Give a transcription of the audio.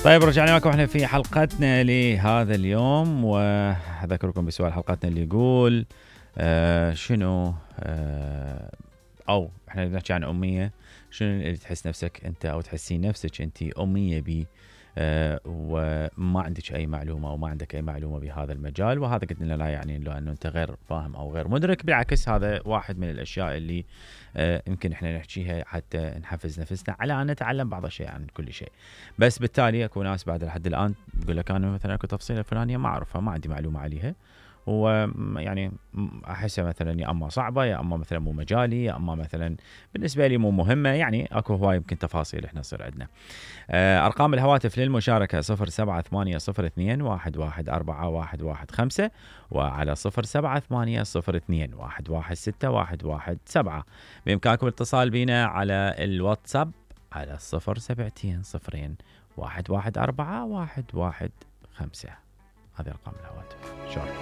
طيب رجعنا لكم احنا في حلقتنا لهذا اليوم، واذكركم بسؤال حلقتنا اللي يقول شنو او احنا نحكي عن اميه، شنو اللي تحس نفسك انت او تحسين نفسك انت اميه بيه وما عندك اي معلومه وما عندك اي معلومه بهذا المجال، وهذا قلنا لا يعني انه انت غير فاهم او غير مدرك، بالعكس هذا واحد من الاشياء اللي يمكن احنا نحكيها حتى نحفز نفسنا على ان نتعلم بعض الشيء عن كل شيء. بس بالتالي اكو ناس بعد لحد الان تقول لك انا مثلا اكو تفصيله فلانيه ما اعرفها، ما عندي معلومه عليها، ويعني احسها مثلا يا اما صعبه يا اما مثلا مو مجالي يا اما مثلا بالنسبه لي مو مهمه، يعني اكو هواي يمكن تفاصيل احنا تصير عندنا. ارقام الهواتف للمشاركه 078-021-114-115 وعلى 078-021-116-117. بامكانكم الاتصال بنا على الواتساب على 072-0-114-115. هذه ارقام الهواتف. شكرا.